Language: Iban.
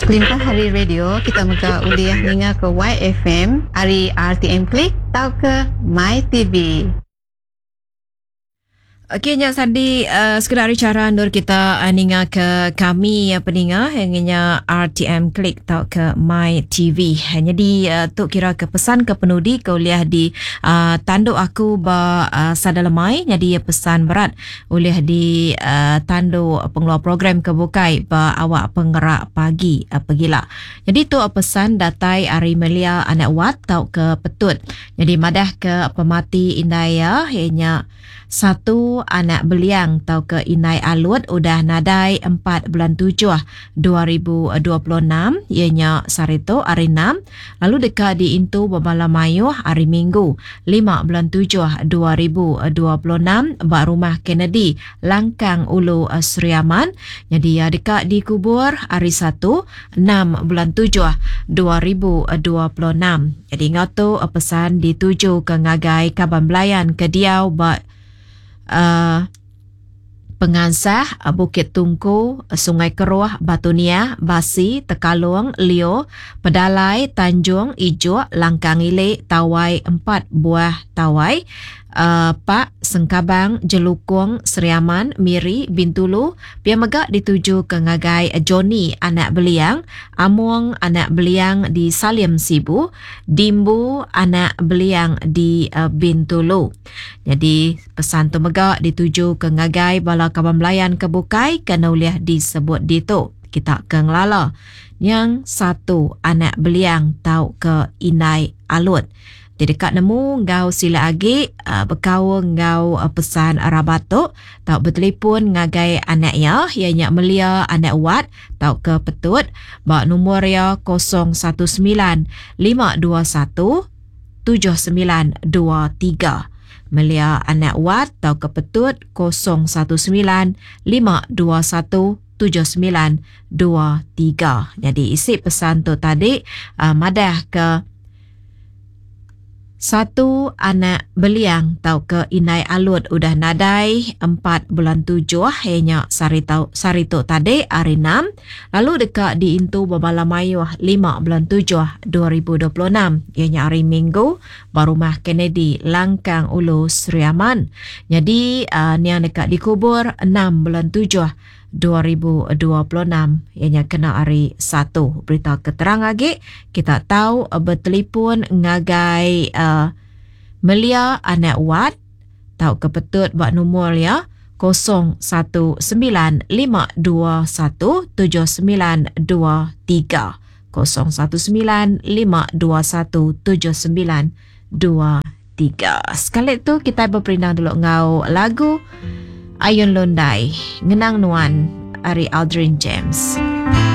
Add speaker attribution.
Speaker 1: Kelimpah ari radio, kita mega ulih ninga ke YFM ari RTM Click tauka MyTV.
Speaker 2: Okey nya sadi uh, sekeda ari chara endur kita uh, ninga ke kami uh, peninga yang nya RTM Click tauka My TV. Jadi uh, tu kira ke pesan ke penudi ke ulih di uh, tandu aku ba uh, sada lemai jadi pesan berat ulih di uh, tandu pengeluar program ke bukai ba awak pengerak pagi uh, pegila. Jadi tu pesan datai ari Melia anak Wat tauka Petut. Jadi madah ke pemati indai iya iya nya Satu anak Beliang tauka Indai Alut udah nadai empat bulan tujuh 2026 iya nya sehari tu hari Enam lalu deka diintu bebala mayuh hari Minggu lima bulan tujuh 2026 ba Rumah Kennedy Langkang Ulu Sri Aman. Nyadi iya deka dikubur hari Satu enam bulan tujuh 2026. Nyadi enggau tu pesan ditujuka ngagai kaban belayan ke diau ba uhh Pengansah, Bukit Tungku, Sungai Keruh, Batu Niah, Basi, Tekalong, Lio, Pedalai, Tanjung, Ijuk, Langkang Ili, Tawai, Empat Buah Tawai, Pak, Sengkabang, Jelukong, Sri Aman, Miri, Bintulu, pia mega ditujuka ngagai Johnny anak Beliang, Among anak Beliang di Salim Sibu, Dimbu anak Beliang di Bintulu. Nyadi pesan tu mega ditujuka ngagai bala kaban belayan ke bukai ke enda ulih disebut ditu. Kita ke ngelala nyang satu anak Beliang tauka Indai Alut. Ti deka nemu enggau silik agi bekaul enggau pesan rabat tu tau betelipun ngagai anak iya, iya nya Melia anak Wat tauka Petut ba numur iya 019 521 7923. Melia anak Wat tauka Petut 019 521 7923. Nyadi isi pesan tu tadi madah ke Satu anak Beliang tauka Indai Alut udah nadai empat bulan tujuh iya nya sehari tau sehari tu tadi hari enam lalu deka diintu bebala mayuh lima bulan tujuh 2026 iya nya hari Minggu ba Rumah Kennedy Langkang Ulu Sri Aman. Nyadi uhh niang deka dikubur enam bulan tujuh 2026 iya nya kena hari Satu. Berita ke terang agi kita tau betelipun ngagai uhh Melia anak Wat tauka petut ba numur iya 0195217923. 0195217923. Sekali tu kitai beperindang dulu enggau lagu Ayun Lundai Ngenang Nuan ari Aldrin James.